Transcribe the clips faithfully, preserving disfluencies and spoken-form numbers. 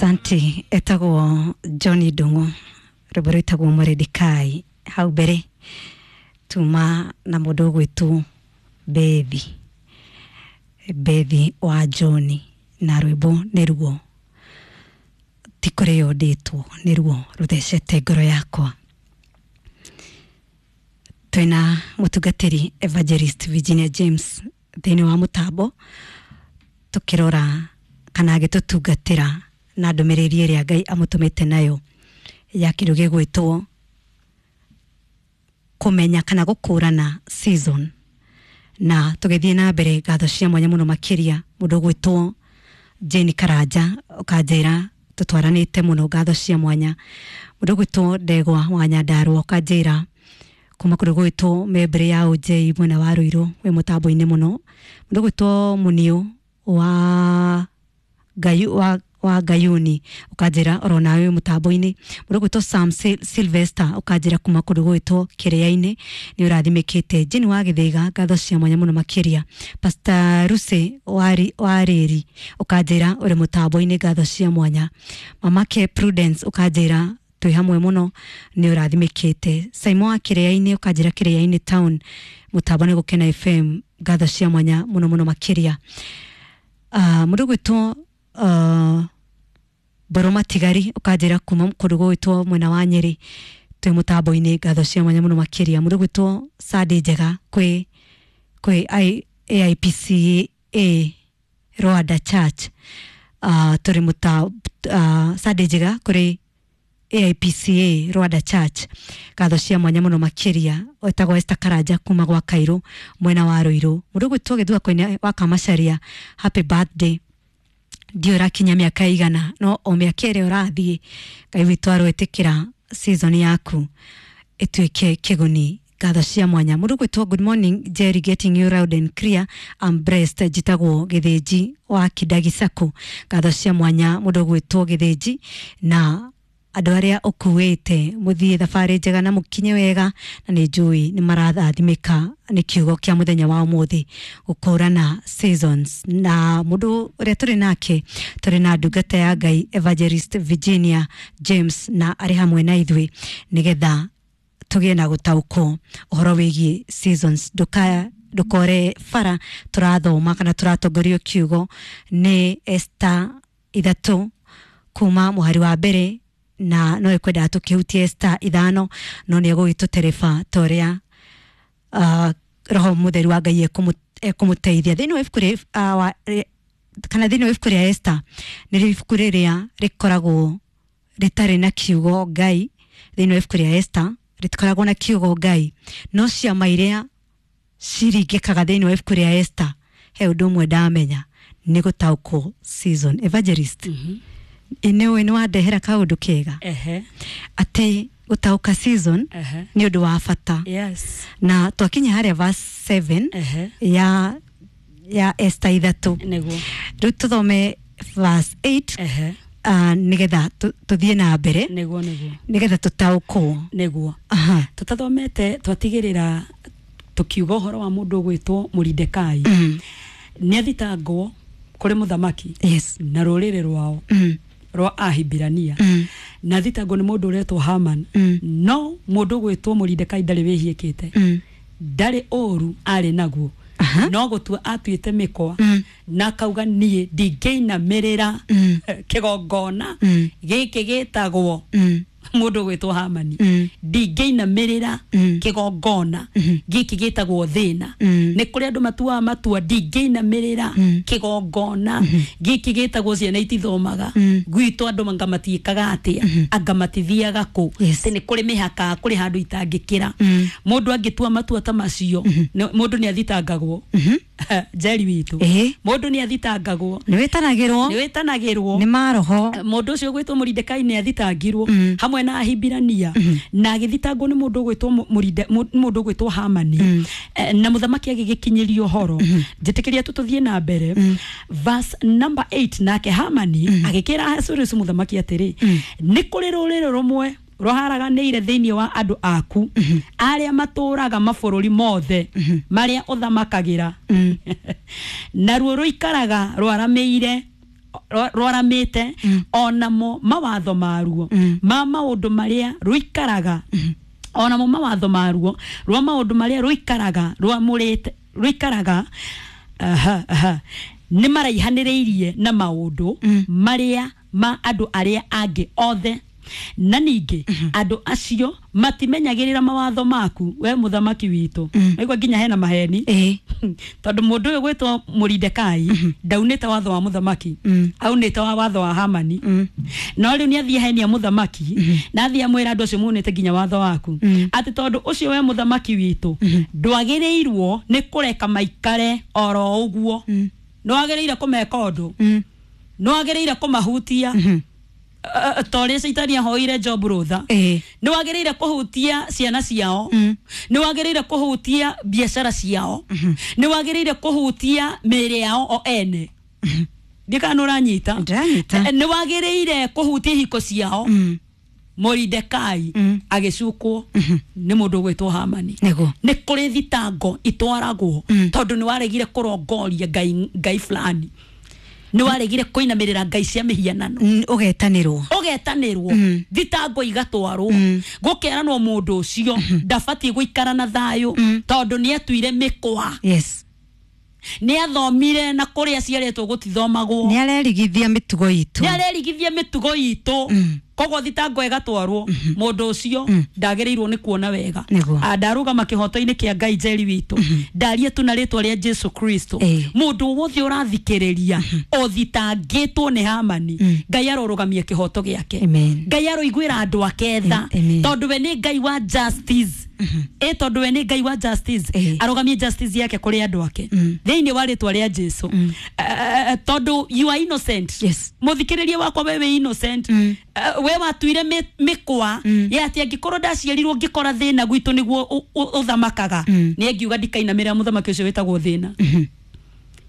Asante. Etagwo John Ndung'u, rwĩmbo rwĩtagwo Mordecai. Hau mbere tuma na mũndũ ũgwĩtwo Bethi, Bethi wa John, na rwĩmbo nĩ ruo ti kũrĩo ndĩtwo, nĩ ruo rũthecete ngoro yakwa. Twĩna mũtungatĩri Evangelist Virginia James thĩinĩ wa mũtambo, tũkĩrora kana agĩtũtungatĩra na ndũmĩrĩri ĩrĩa Ngai amũtũmĩte nayo ya kĩndũ gĩgwĩtwo kũmenya kana gũkũrana season. Na tũgĩthiĩ na mbere, ngatho cia mwanya mũno makĩria mũndũ ũgwĩtwo Jane Karanja, ũkanjĩra tũtwaranĩte mũno, ngatho cia mwanya. Mũndũ ũgwĩtwo Ndegwa wa Nyandarua, ũkanjĩra kuma kũndũ gwĩtwo Membere ya O J mwena wa Ruiru, wĩ mũtambo-inĩ mũno. Mũndũ ũgwĩtwo Muniu wa Gayu, wa wa Gayuni, ũkanjĩra oro nawe wĩ mũtambo-inĩ. Mũndũ ũgwĩtwo Sam Sil- Sylvester, ũkanjĩra kuma kũndũ gwĩtwo Kĩrĩa-inĩ nĩ ũrathimĩkĩte. Jane wa Gĩthĩga, ngatho cia mwanya mũno makĩria. Pastor Ruse wa Rĩri, ũkanjĩra ũrĩ mũtambo-inĩ, ngatho cia mwanya. Mamake Prudence, ũkanjĩra twĩ hamwe mũno, nĩ ũrathimĩkĩte. Saimo wa Kĩrĩa-inĩ, ũkanjĩra Kĩrĩa-inĩ town, mũtambo nĩ Gũkena F M, ngatho cia mwanya mũno mũno makĩria. uh, mũndũ ũgwĩtwo uh, Mboro Matigari, ũkanjĩra kuma kũndũ gũgwĩtwo mwena wa Nyĩrĩ twĩ mũtambo-inĩ, ngatho cia mwanya mũno makĩria. Mũndũ ũgwĩtwo Sunday Njega kwĩ kwĩ I- A I P C A Rwanda Church, uh, tũrĩ mũta uh, Sunday Njega kũrĩ A I P C A Rwanda Church, ngatho cia mwanya mũno makĩria. Wetagwo Esther Karanja kuma gwa Kairũ mwena wa Ruiru. Mũndũ ũgwĩtwo Gĩthua Koine wa Kamacharia, happy birthday. Ndiũ ũrakinya mĩaka igana, no o mĩaka ĩrĩa ũrathiĩ, Ngai witũ aroĩtĩkĩra season yaku ĩtuĩke kĩguni, ngatho cia mwanya. Mũndũ gwĩtwo good morning Jerry, getting you loud and clear, I'm blessed. Njĩtagwo Gĩthĩnji wa Kidagi Sacco, ngatho cia mwanya mũndũ gwĩtwo Gĩthĩnji na andũ arĩa ũkuĩte, mũthiĩ thabarĩ njega na mũkinye wega, na nĩ njũĩ nĩ marathathimĩka nĩ kiugo kĩa mũthenya wa ũmũthĩ, gũkũrana seasons. Na mũndũ ũrĩa tũrĩ nake, tũrĩ na ndungata ya Ngai Evangelist Virginia James, na arĩ hamwe na ithuĩ nĩgetha tũgĩe na gũtaũkwo ũhoro wĩgiĩ seasons. Ndũka ndũkore bara, tũrathoma kana tũratongorio kiugo nĩ Esther ithatũ kuma mũhari wa mbere, na no ĩkwendaga tũkĩhutie Esther ithano, no nĩ egũgĩtũtereba ta ũrĩa uh, roho mũtheru wa Ngai ekũmũ- ekũmũteithia. Thĩinĩ wa ibuku rĩ- uh, wa- rĩ- kana thĩinĩ wa ibuku rĩa Esther, nĩ ibuku rĩrĩa rĩkoragwo rĩtarĩ na kiugo Ngai. Thĩinĩ wa ibuku rĩa Esther rĩtikoragwo na kiugo Ngai, no ciama iria ciringĩkaga thĩinĩ wa ibuku rĩa Esther, he ũndũ ũmwe ndamenya, nĩ gũtaũkwo season. Evangelist, nĩ nĩ wandehera kaũndũ kega Ehe. atĩ gũtaũka season Ehe. nĩ ũndũ wa bata. Yes. Na twakinya harĩa verse seven Ehe. ya ya Esther ithatũ. Nĩguo. Rĩu tũthome verse eight Ehe. uh, nĩgetha tũ- tũthiĩ na mbere, Nĩguo nĩguo. nĩgetha tũtaũkwo. Nĩguo. Aha. Tũtathomete twatigĩrĩra tũkiuga ũhoro wa mũndũ ũgwĩtwo Mũridekai. Mm. Nĩ athitangwo kũrĩ mũthamaki yes na rũrĩrĩ rwao mm. rwa Ahibirania, Mm. na thitangwo nĩ mũndũ ũretwo Haman. Mm. No mũndũ ũgwĩtwo Mũridekai ndarĩ wĩhiĩkĩte, Mm. ndarĩ ũru arĩ naguo, Aha. no gũtua atuĩte mĩkwa Mm. na akauga, niĩ ndingĩinamĩrĩra Mm. kĩgongona Mm. gĩkĩ gĩtagwo Mm. mũndũ ũgwĩtwo Hamani, Mm. ndingĩinamĩrĩra Mm. kĩgongona gĩkĩ gĩtagwo thĩna. Mm. Nĩ kũrĩ andũ matuaga matua, ndingĩinamĩrĩra Mm. kĩgongona gĩkĩ gĩtagwo ciana itithomaga Mm. gwitũ, andũ anga matiĩkaga atĩa, anga matithiaga kũ. Yes. Atĩ nĩ kũrĩ mĩhaka, kũrĩ handũ itangĩkĩra. Mm. Mũndũ angĩtua matua ta macio, nĩ- mũndũ nĩ athitangagwo, Njeri witũ. Ĩĩ. Mũndũ nĩ athitangagwo. Nĩ wĩtanagĩrwo. Nĩ wĩtanagĩrwo. Nĩ maroho. Mũndũ ũcio ũgwĩtwo Mũridekai nĩ athitangirwo Mm. hamwe na Ahibirania, na agĩthitangwo nĩ mũndũ ũgwĩtwo Mu- Mũride- Mu- mũndũ ũgwĩtwo Hamani. Eh, na mũthamaki agĩgĩkinyĩrio ũhoro. Njĩtĩkĩria tu tũthiĩ na mbere, verse number eight. Nake Hamani agĩkĩra Ahasuerusu mũthamaki atĩrĩ, nĩ kũrĩ rũrĩrĩ rũmwe rũharaganĩire thĩinĩ wa andũ aku arĩa matũũraga mabũrũri mothe marĩa ũthamakagĩra, naruo rũikaraga rwaramĩire rwaramĩte onamo mawatho maruo ma maũndũ marĩa rũikaraga onamo mawatho maruo rwa maũndũ marĩa rũikaraga rwamũrĩte rũikaraga aha aha nĩ maraihanĩrĩirie na maũndũ marĩa ma andũ arĩa angĩ othe na ningĩ andũ acio matimenyagĩrĩra mawatho maku we mũthamaki witũ. Naigua nginya hena maheni Ĩĩ. tondũ mũndũ ũyũ gwĩtwo Mũridekai ndaunĩte watho wa mũthamaki, aunĩte wa watho wa Hamani, no rĩu nĩ athiĩ henia mũthamaki na athiĩ amwĩra andũ acio maunĩte nginya watho waku, atĩ tondũ ũcio we mũthamaki witũ ndwagĩrĩirwo nĩ kũreka maikare oro ũguo, nĩ wagĩrĩire kũmeka ũndũ, nĩ wagĩrĩire kũmahutia ta ũrĩa caitani ahoire Job rũtha, Ĩĩ. nĩ wagĩrĩire kũhutia ciana ciao, nĩ wagĩrĩire kũhutia biacara ciao, nĩ wagĩrĩire kũhutia mĩĩrĩ yao o ene. Ndikana nĩ ũranyita? Ndĩranyita. Eh, nĩ wagĩrĩire kũhutia ihiko ciao. Moridekai agĩcukwo nĩ mũndũ ũgwĩtwo Hamani. Nĩguo. Nĩ kũrĩ thitango itwaragwo tondũ nĩ waregire kũrongoria ngai ngai fulani, nĩ waregire kũinamĩrĩra ngai cia mĩhianano, Mm, ũgetanĩrwo ũgetanĩrwo thitango igatwarwo gũkeranwo mũndũ ũcio ndabatiĩ gũikara na thayũ tondũ nĩ atuire mĩkwa, yes nĩ athomire na kũrĩa aciarĩtwo gũtithomagwo, nĩ arerigithia mĩtugo itũ, nĩ arerigithia mĩtugo itũ, koguo thitango ĩgatwarwo mũndũ ũcio ndagĩrĩirwo nĩ kuona wega. Nĩguo. Ah, ndarũgama kĩhoto-inĩ kĩa Ngai njeri witũ, ndarie tu na rĩtwa rĩa Jesu Kristo, Ĩĩ. mũndũ wothe ũrathikĩrĩria ũthitangĩtwo nĩ Hamani, Ngai arorũgamia kĩhoto gĩake. Amen. Ngai aroiguĩra andũ ake tha Amen. tondũ we nĩ Ngai wa justice. Ĩ tondũ we nĩ Ngai wa justice, Ĩĩ. arũgamie justice yake kũrĩ andũ ake thĩinĩ wa rĩtwa rĩa Jesu. Eh, tondũ you are innocent. Yes. Mũthikĩrĩria wakwa, we wĩ innocent. Eh, we watuire mĩ- mĩkwa ya atĩ angĩkorwo ndaciarirwo ngĩkora thĩna gwitũ nĩguo ũ- ũ- ũthamakaga, nĩ angiuga ndikainamĩrĩra mũthamaki ũcio wĩtagwo thĩna.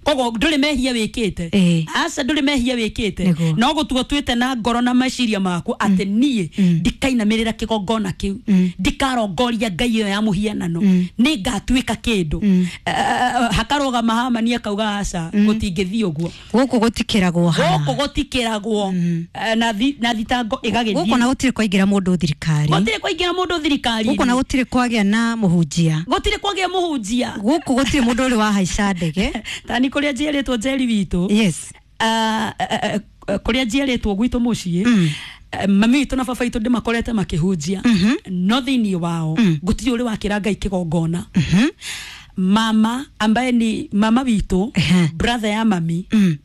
Koguo ndũrĩ mehia wĩkĩte. Ĩĩ. Aca, ndũrĩ mehia wĩkĩte, Nĩguo. no gũtua tuĩte na ngoro na meciria maku atĩ niĩ ndikainamĩrĩra kĩgongona kĩu, ndikarongoria ngai ĩyo ya mũhianano, nĩ ngatuĩka kĩndũ. Eh, hakarũgama Hamani akauga aca, gũtingĩthiĩ ũguo. Gũkũ gũtikĩragwo haha. Gũkũ gũtikĩragwo. Eh, na thi- na thitango Gũkũ na ĩgagĩthiĩ. gũtirĩ kwaingĩra mũndũ thirikari. Gũtirĩ kwaingĩra mũndũ thirikari. Gũkũ na gũtirĩ kwagĩa na mũhunjia. Gũtirĩ kwagĩa mũhunjia. Gũkũ gũtirĩ mũndũ ũrĩ wahaica ndege. Tani kũrĩa njiarĩtwo njeri witũ, yes Ah, eh, eh, kũrĩa njiarĩtwo gwitũ mũciĩ, eh, mami witũ na baba witũ ndĩmakorete makĩhunjia, no thĩinĩ wao gũtirĩ ũrĩ wakĩra ngai kĩgongona. Mama ambaye ni mama witũ, Ehe. brother ya mami, eh,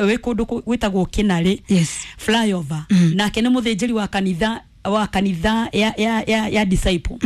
wĩ kũndũ kũ- gwĩtagwo Kĩnarĩ yes flyover, nake nĩ mũthĩnjĩri wa kanitha wa kanitha ya, ya, ya, ya disciple.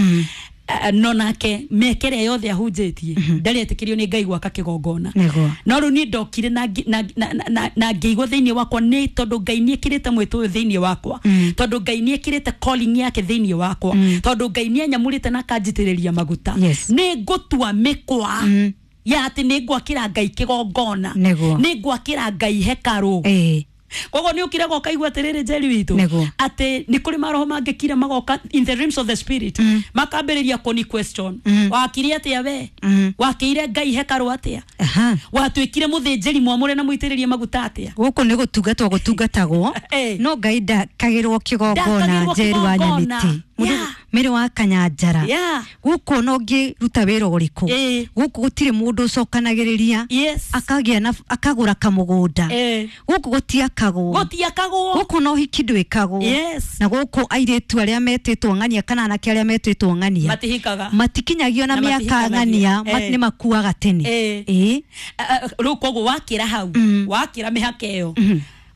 Eh, no nake mĩaka ĩrĩa yothe ahunjĩtie ndarĩ etĩkĩrio nĩ Ngai gwaka kĩgongona. Nĩguo. No rĩu niĩ ndokire na ngĩ- na- na- na- na- na ngĩigua thĩinĩ wakwa nĩ tondũ Ngai nĩ ĩkĩrĩte mwĩtũ ũyũ thĩinĩ wakwa, tondũ Ngai nĩ ĩkĩrĩte calling yake thĩinĩ wakwa, tondũ Ngai nĩ anyamũrĩte na akanjitĩrĩria maguta, Yes. nĩ ngũtua mĩkwa ya atĩ nĩ ngwakĩra Ngai kĩgongona, Nĩguo. nĩ ngwakĩra Ngai hekarũ. Ĩĩ. Koguo nä å kire goka igua atä rä rä njeri witå Nĩguo. atä nä kå rä maroho mangä kira magoka in the realms of the spirit, makambä rä ria kå ni question, wakire atä a we? Wakä ire Ngai hekarå atä a? Aha. Watuä kire må thä njäri mwamå re na må itä rä rie maguta atä a? Gũkũ nĩ gũtungatwo gũtungatagwo, Eh. no Ngai ndakagĩrwo kĩgongona. Ndakagĩrwo Njeri wa kĩgongona. Nyamĩtĩ. Mũndũ- Yeah. Mĩrĩ wa Kanyanjara. Yeah. Gũkũ ona ũngĩruta wĩra ũrĩkũ, Eh. gũkũ gũtirĩ mũndũ ũcokanagĩrĩria Yes. akagĩa na akagũra kamũgũnda. Eh. Gũkũ gũtiakagwo. Gũtiakagwo. Gũkũ na ũhiki ndwĩkagwo. Yes. Na gũkũ airĩtu arĩa metĩtwo ng'ania kana anake arĩa metĩtwo ng'ania matihikaga. matikinyagio na Na mĩaka matihikanagia. ng'ania, ma- Eh. nĩ makuaga tene. Eh. Ĩĩ. Rä u koguo wakĩra hau, wakĩra mĩhaka ĩyo,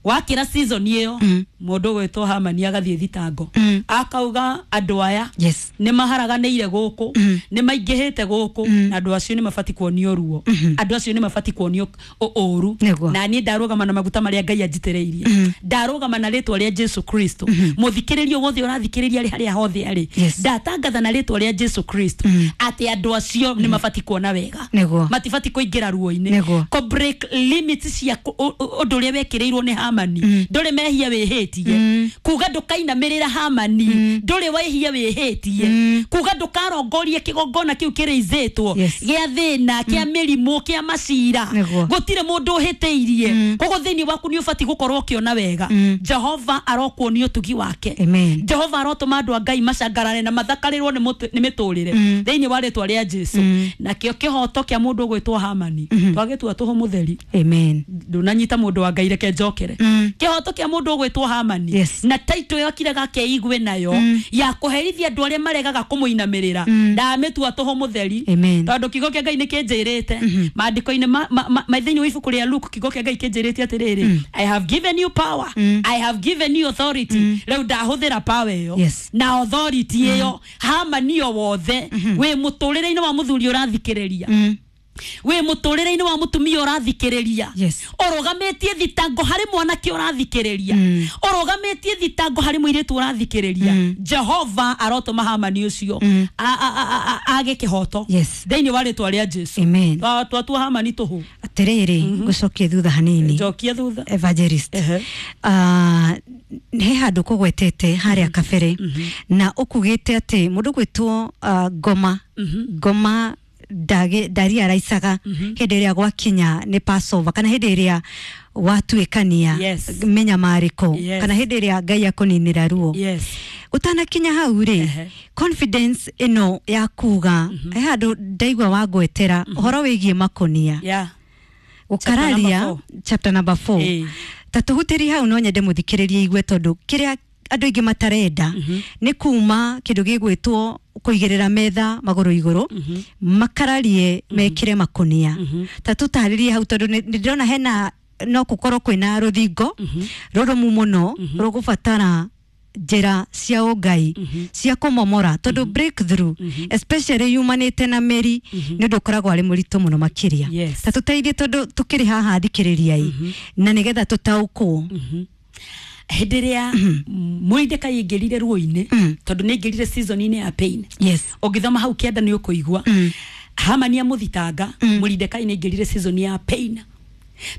wakĩra season ĩyo, mũndũ ũgwĩtwo Hamani agathiĩ thitango akauga andũ aya Yes. nĩ maharaganĩire gũkũ, nĩ maingĩhĩte gũkũ, na andũ acio nĩ mabati kuonio ruo, andũ acio nĩ mabati kuonio ũ- ũru. Nĩguo. Na niĩ ndarũgama na maguta marĩa Ngai anjitĩrĩirie, ndarũgama na rĩtwa rĩa Jesu Kristo. Mũthikĩrĩrio wothe ũrathikĩrĩria arĩ harĩa hothe arĩ, Yes. ndatangatha na rĩtwa rĩa Jesu Kristo atĩ andũ acio nĩ mabati kuona wega. Nĩguo. Matibati kũingĩra ruo-inĩ. Nĩguo. Kũ break limits cia kũ- ũ- ũ- ũndũ ũrĩa wekĩrĩirwo nĩ Hamani. Hamani ndũrĩ mehia wĩhĩtie, kuga ndũkainamĩrĩra Hamani ndũrĩ wehia wĩhĩtie, kuga ndũkarongorie kĩgongona kĩu kĩrĩizĩtwo Yes. gĩa thĩna, kĩa mĩrimũ, kĩa macira, Nĩguo. gũtirĩ mũndũ ũhĩtĩirie. Koguo thĩinĩ waku nĩ ũbatiĩ gũkorwo ũkĩona wega. Jehova arokuonia ũtugi wake. Amen. Jehova arotũma andũ a Ngai macangarare na mathakarĩrwo nĩ mũtũ- nĩ mĩtũrĩre thĩinĩ wa rĩtwa rĩa Jesu. Nakĩo kĩhoto kĩa mũndũ ũgwĩtwo Hamani twagĩtua tũhũ mũtheri. Amen. Ndũnanyita, mũndũ wa Ngai, reke njokere. Kĩhoto kĩa mũndũ ũgwĩtwo Hamani Yes. na taito ĩyo akiraga akeigue nayo ya kũherithia andũ arĩa maregaga kũmũinamĩrĩra, ndamĩtua tũhũ mũtheri. Amen. Tondũ kiugo kĩa Ngai nĩ kĩnjĩrĩte maandĩko-inĩ ma- ma- ma- ma- thĩinĩ wa ibuku rĩa Luke, kiugo kĩa Ngai kĩnjĩrĩte atĩrĩrĩ, "I have given you power, I have given you authority." Rĩu ndahũthĩra power ĩyo Yes. na authority ĩyo, Hamani o wothe wĩ mũtũrĩre-inĩ wa mũthuri ũrathikĩrĩria, wĩ mũtũrĩre-inĩ wa mũtumia ũrathikĩrĩria, Yes. ũrũgamĩtie thitango harĩ mwanake ũrathikĩrĩria, ũrũgamĩtie thitango harĩ mũirĩtu ũrathikĩrĩria, Jehova arotũma Hamani ũcio a- a- a- a- age kĩhoto Yes. thĩinĩ wa rĩtwa rĩa Jesu. Amen. Twa- twatua Hamani tũhũ. Atĩrĩrĩ, ngũcokie thutha hanini. Njokia thutha. Evangelist, Ehe. Ah, he handũ kũgwetete harĩa kabere na ũkugĩte atĩ mũndũ gwĩtwo ah, ngoma ngoma ndage- ndariaraicaga hĩndĩ ĩrĩa gwakinya nĩ Passover, kana hĩndĩ ĩrĩa watuĩkania Yes. mĩnyamarĩko, Yes. kana hĩndĩ ĩrĩa Ngai akũninĩra ruo. Yes Ũtanakinya hau rĩ, Ehe. confidence ĩno ya kuga, he handũ ndaigua wangwetera ũhoro wĩgiĩ makonia yeah gũkararia. Chapter number four. Chapter number four. Ĩĩ. Ta tũhutĩrie hau, no nyende mũthikĩrĩrie igue, tondũ kĩrĩa andũ aingĩ matarenda nĩ kuma kĩndũ gĩgwĩtwo kũigĩrĩra metha magũrũ igũrũ, makararie mekĩre makonia. Ta tũtarĩrie hau, tondũ nĩ nĩ ndĩrona hena no gũkorwo kwĩna rũthingo rũrũmu mũno rũgũbatara njĩra cia ũngai cia kũmomora, tondũ breakthrough especially yumanĩte na mĩri nĩ ũndũ ũkoragwo arĩ mũritũ mũno makĩria. Yes. Ta tũteithie, tondũ tũkĩrĩ haha thikĩrĩriai na nĩgetha tũtaũkwo. Hĩndĩ ĩrĩa Mũrĩndĩkai aingĩrire ruo-inĩ, tondũ nĩ aingĩrire season-inĩ ya pain, Yes ũngĩthoma hau kĩanda nĩ ũkũigua Hamani amũthitanga. Mũrindekai nĩ aingĩrire season ya pain,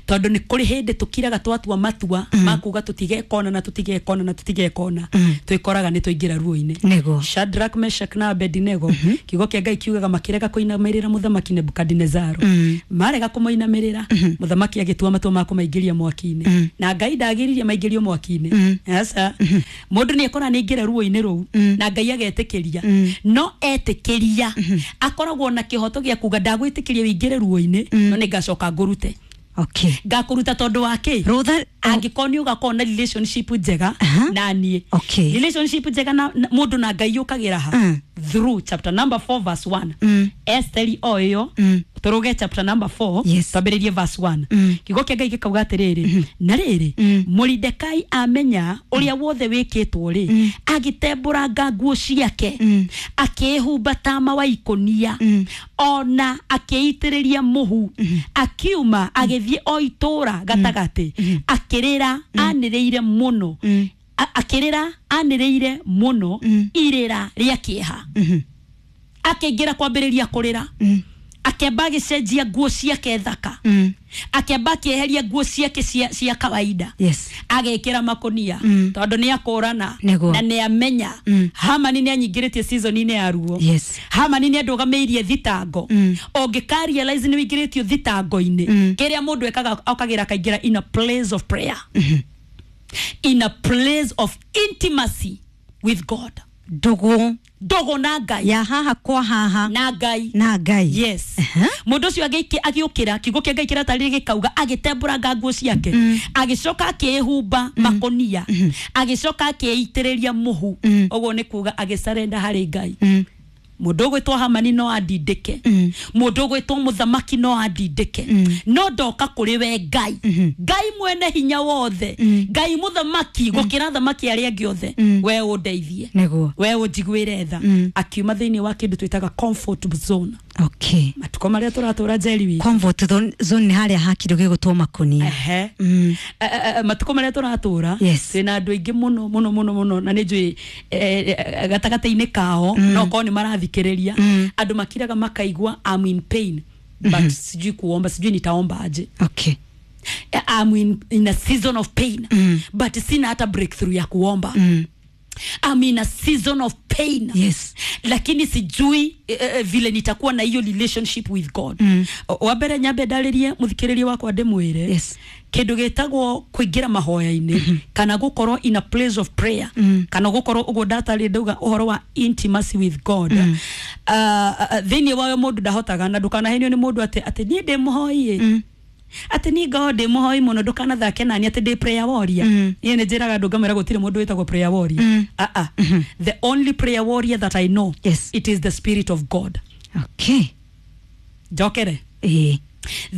tondũ nĩ kũrĩ hĩndĩ tũkiraga twatua matua ma kuga tũtigekona na tũtigekona na tũtigekona, twĩkoraga nĩ twaingĩra ruo-inĩ. Nĩguo. Shadrach, Meshach na Abednego, kiugo kĩa Ngai kiugaga makĩrega kũinamĩrĩra mũthamaki Nebukadinezaro. Marega kũmũinamĩrĩra, mũthamaki agĩtua matua ma kũmaingĩria mwaki-inĩ, na Ngai ndagĩririe maingĩrio mwaki-inĩ. Aca, mũndũ nĩ ekora nĩ aingĩra ruo-inĩ rũu na Ngai agetĩkĩria, no etĩkĩria akoragwo na kĩhoto gĩa kuga, "Ndagwĩtĩkĩria wĩingĩre ruo-inĩ, no nĩ ngacoka ngũrute." Okay Ngakũruta tondũ wa kĩ? Rũtha. Angĩkorwo nĩ ũgakorwo na relationship njega Aha. na niĩ. Okay. Relationship njega na na- mũndũ na Ngai yũkagĩra ha? Mm. Through chapter number four verse one. Mm. Esteri o ĩyo, Mm. tũrũge chapter number four, Yes. twambĩrĩrie verse one. Mm. Kiugo kĩa Ngai gĩkauga atĩrĩrĩ, na rĩrĩ, Mm. Mũridekai amenya ũrĩa wothe wĩkĩtwo rĩ, agĩtembũranga nguo ciake, Mm. akĩĩhumba tama wa ikũnia, Mm. ona akĩitĩrĩria mũhu, akiuma agĩthiĩ o itũũra gatagatĩ akĩrĩra anĩrĩire mũno. Mm. A- akĩrĩra anĩrĩire mũno Mm. irĩra rĩa kĩeha. Mhm. Akĩingĩra kwambĩrĩria kũrĩra, Mm. akĩamba agĩcenjia nguo ciake thaka, Mm. akĩamba akĩeheria nguo ciake cia, cia kawaida, Yes agekĩra makonia, Mm. tondũ nĩ akũrana Nĩguo. na nĩ amenya Mm. Hamani nĩ anyingĩrĩtie season-inĩ ya ruo. Yes. Hamani nĩ andũgamĩirie thitango. Mm. Ũngĩka realize nĩ ũingĩrĩtio thitango-inĩ, Mm. kĩrĩa mũndũ ekaga okagĩra akaingĩra in a place of prayer, in a place of intimacy with God. Ndũgũ. Ndũgũ na Ngai. Ya haha kwa haha. Na Ngai. Na Ngai. Yes. Aha. Mũndũ ũcio agĩiki- agĩũkĩra, kiugo kĩa Ngai kĩratarĩria gĩkauga agĩtembũranga nguo ciake, agĩcoka akĩĩhumba makonia, agĩcoka akĩĩitĩrĩria mũhu. Mm. Ũguo nĩ kuga agĩcarenda harĩ Ngai. Mm. Mũndũ ũgwĩtwo Hamani no andindĩke, Mm. mũndũ ũgwĩtwo mũthamaki no andindĩke, Mm. no ndoka kũrĩ we Ngai, Ngai mwene hinya wothe, Ngai mũthamaki gũkĩra thamaki arĩa angĩ othe, Mm. we ũndeithie, Nĩguo. we ũnjiguĩre tha. Mm. Akiuma thĩinĩ wa kĩndũ twĩtaga comfort zone. Okay Matukũ marĩa tũratũra, njeri witũ, Comfort zone zone nĩ harĩa ha kĩndũ gĩgũtwo makonia. Ehe. Mm. Eh, eh, eh, matukũ marĩa tũratũra, Yes. twĩna andũ aingĩ mũno mũno mũno mũno, na nĩ njũĩ eh, eh, gatagatĩ-inĩ kao no korwo nĩ marathikĩrĩria, Mm. andũ makiraga makaigua, "I'm in pain, but sijui kuomba, sijui nitaomba aje." Okay I'm in, in a season of pain mm. but sina hata breakthrough ya kuomba mm. I'm in a season of pain Yes. lakini sijui eh, eh, vile nitakuwa na hiyo relationship with God mm. Wambere nyambe ndarĩrie mũthikĩrĩria wakwa ndĩmwĩre Yes. kĩndũ gĩtagwo kũingĩra mahoya-inĩ mm -hmm. kana gũkorwo in a place of prayer mm. kana gũkorwo ũguo ndatarĩ ndauga ũhoro wa intimacy with God mm. uh, uh, thĩinĩ wayo mũndũ ndahotaga na ndũkanahenio nĩ mũndũ atĩ atĩ niĩ ndĩ mũhoi mm atĩ niĩ ngorwo ndĩ mũhoi mũno ndũkanathake nani atĩ ndĩ prayer warrior mm. Niĩ nĩ njĩraga andũ ngamwĩra gũtirĩ mũndũ wĩtagwo prayer warrior mm. ah, ah. Mm -hmm. The only prayer warrior that I know Yes. it is the spirit of God. Okay. Njokere Ĩĩ.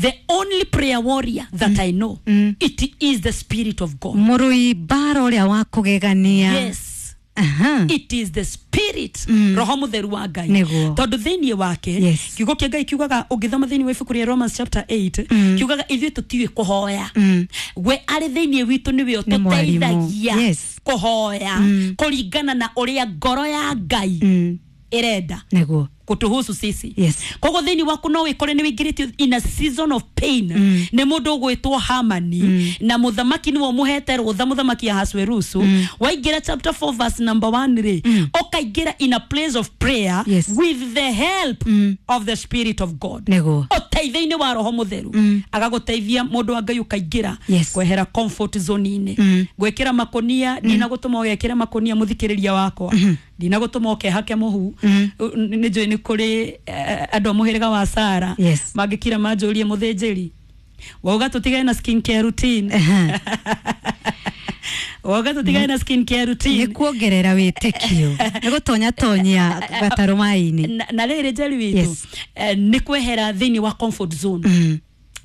the only prayer warrior that mm. I know mm. it is the spirit of God. Mũrũi mbara ũrĩa wa kũgegania. Yes. Aha. It is the spirit mm. roho mutheru wa Ngai Nĩguo. tondu thiini wake Yes. kiugo kia Ngai kiugaga ũngĩthoma thiini wa ibuku rĩa Romans chapter eight mm. kiugaga ithuĩ tũtiũĩ kũhoya mm. we arĩ thiini witũ nĩwe Nĩ mwarimũ. ũtũteithagia Yes. kũhoya mm. kũringana na ũrĩa ngoro ya Ngai mm. ĩrenda Nĩguo. kutuhusu sisi. Yes. Koguo thiini waku no wikore ni wingirĩtio in a season of pain mm. nĩ mũndũ ũgwĩtwo Hamani mm. na mũthamaki nĩwe ũmũhete rũtha mũthamaki Ahasuerusu mm. waingĩra chapter four verse number one rĩ mm. ũkaingĩra in a place of prayer Yes. with the help mm. of the spirit of God. Nĩguo. Ũteithio-inĩ wa roho mũtheru mm. agagũteithia mũndũ wa Ngai ũkaingĩra Yes. kwehera comfort zone-inĩ mm. gwĩkĩra makũnia ndinagũtũma ũgekĩra makũnia mũthikĩrĩria wakwa ndinagũtũma ũkehake mũhu nĩ njũĩ nĩ kũrĩ eh, andũ a mũhĩrĩga wa Sara Yes. mangĩkira manjũrie mũthĩnjĩri wauga tũtigane na skin care routine Aha. wauga tũtigane na skin care Nĩ routine kuongerera wĩtĩkio. Nĩ gũtonya tonyia gatarũ maĩ-inĩ. na, na rĩrĩ njeri witũ Yes. eh, nĩ kwehera thĩinĩ wa comfort zone mm.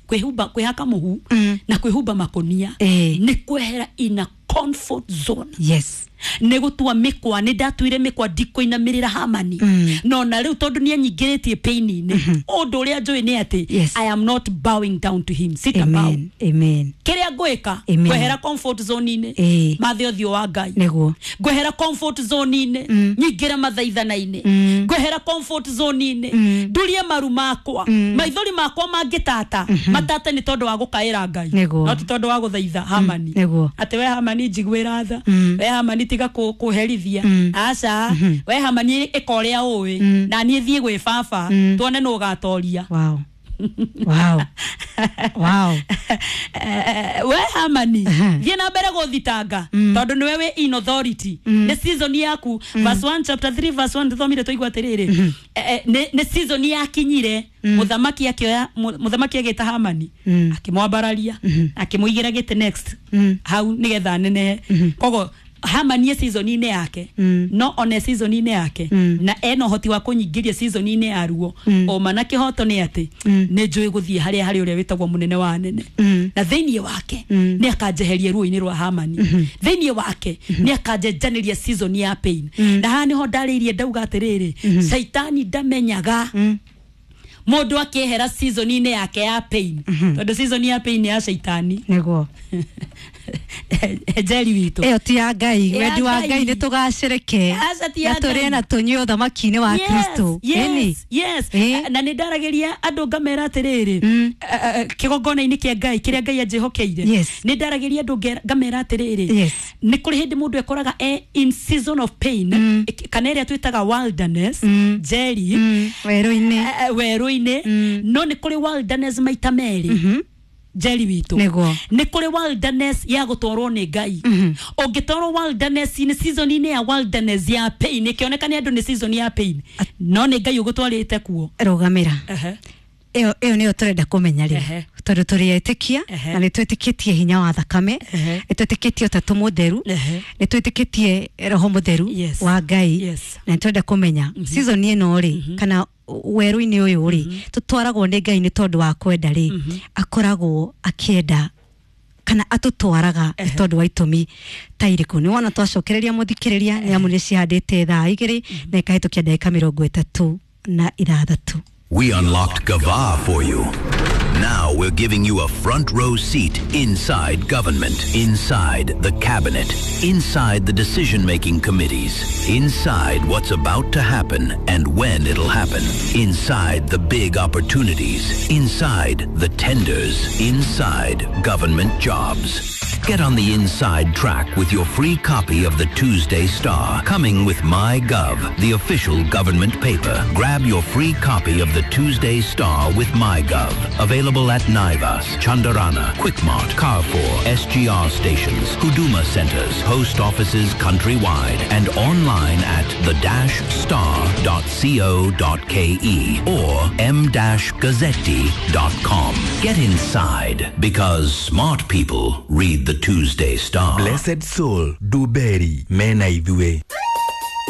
kwĩhumba kwĩhaka mũhu mm. na kwĩhumba makũnia Ĩĩ. nĩ kwehera in a comfort zone Yes. nĩ gũtua mĩkwa nĩ ndatuire mĩkwa ndikũinamĩrĩra Hamani mm. no na rĩu tondũ nĩ anyingĩrĩtie pain-inĩ ũndũ ũrĩa njũĩ nĩ atĩ Yes. I am not bowing down to him sita bow Amen. Amen. kĩrĩa ngwĩka Amen. kwehera comfort zone-inĩ Ĩĩ. mathe ũthiũ wa Ngai Nĩguo. ngwehera comfort zone-inĩ nyingĩre mathaithana-inĩ ngwehera comfort zone-inĩ ndurie maru makwa maithori makwa mangĩtata matata nĩ tondũ wa gũkaĩra Ngai Nĩguo. no ti tondũ wa gũthaitha Hamani Nĩguo. atĩ we Hamani njiguĩra tha we Hamani tiga kũ- kũherithia aca we Hamani ĩka ũrĩa ũĩ na niĩ thiĩ gwĩ baba tuone nũ ũgatoria. Wow. Wow. Wow. Eh, we Hamani Aha. thiĩ na mbere gũthitanga tondũ nĩwe wĩ in authority nĩ season yaku verse one chapter three verse one tũthomire twaigua atĩrĩrĩ eh, eh, nĩ nĩ season yakinyire mũthamaki akĩoya mu- mũthamaki agĩta Hamani akĩmwambararia akĩmũigĩra gĩtĩ next hau nĩgetha anenehe koguo Hamani e season-inĩ yake no one season-inĩ yake na ena ũhoti wa kũnyingĩria season-inĩ ya ruo ũma na kĩhoto nĩ atĩ nĩ njũĩ gũthiĩ harĩa harĩ ũrĩa wĩtagwo mũnene wa anene na thĩinĩ wake nĩ akanjeheria ruo-inĩ rwa Hamani thĩinĩ wake nĩ akanjenjanĩria season ya pain na haha nĩho ndarĩirie ndauga atĩrĩrĩ caitani ndamenyaga mũndũ akĩehera season-inĩ yake ya pain tondũ season ya pain nĩ ya caitani Nĩguo. njeri witũ Ĩyo ti ya Ngai. Ya Wendi wa Ngai. Ngai nĩ tũgacĩrĩke. Aca ti ya Na tũrĩe Ngai. na tũnyue ũthamaki-inĩ wa Kristo. Ĩni. yes, yes. Ĩĩ. Na nä ndaragä andå ngamera atä rä rä kä gongona-inä kä a Ngai kä rä a Ngai anjähokeire Yes. nä ndaragä ria andå ngamera atä rä rä Yes. nä kå rä hä ndä må ndå ekoraga e in season of pain kana ä rä a twä taga wilderness njeri Mm. Werũ-inĩ. eh, eh, werũ-inĩ no nä kå rä wilderness maita merĩ njeri witũ Nĩguo. nä kå rä wilderness ya gå twarwo nä Ngai å ngä twarwo wilderness-inĩ season-inĩ ya wilderness ya pain ĩkĩoneka nĩ andũ nĩ season ya pain no nĩ Ngai ũgũtwarĩte kuo Rũgamĩra. Ehe. ĩyo ĩyo nĩyo tũrenda kũmenya rĩ Ehe. tondũ tũrĩ etĩkia Ehe. na nĩ twĩtĩkĩtie hinya wa thakame Ehe. nĩ twĩtĩkĩtie ũtatũ mũtheru Ehe. nĩ twĩtĩkĩtie roho mũtheru Yes. wa Ngai Yes. na nĩ tũrenda kũmenya season ĩno rĩ kana werũ-inĩ ũyũ rĩ tũtwaragwo nĩ Ngai nĩ tondũ wa kwenda rĩ akoragwo akĩenda kana atũtwaraga nĩ tondũ wa itũmi ta irĩkũ nĩ wona twacokereria mũthikĩrĩria nĩ amu nĩ cihandĩte thaa igĩrĩ na ĩkahĩtũkia ndagĩka mĩrongo ĩtatũ na ithathatũ. We unlocked Gava for you. Now we're giving you a front row seat inside government, inside the cabinet, inside the decision making committees, inside what's about to happen and when it'll happen, inside the big opportunities, inside the tenders, inside government jobs. Get on the inside track with your free copy of the Tuesday Star, coming with MyGov, the official government paper. Grab your free copy of the Tuesday Star with MyGov. Available at Naivas, Chandarana, Quickmart, Carrefour, S G R stations, Huduma centers, post offices countrywide, and online at the dash star dot co dot ke or m dash gazzetti dot com. Get inside, because smart people read the Tuesday Star. Blessed Soul Duberi mena ithuĩ.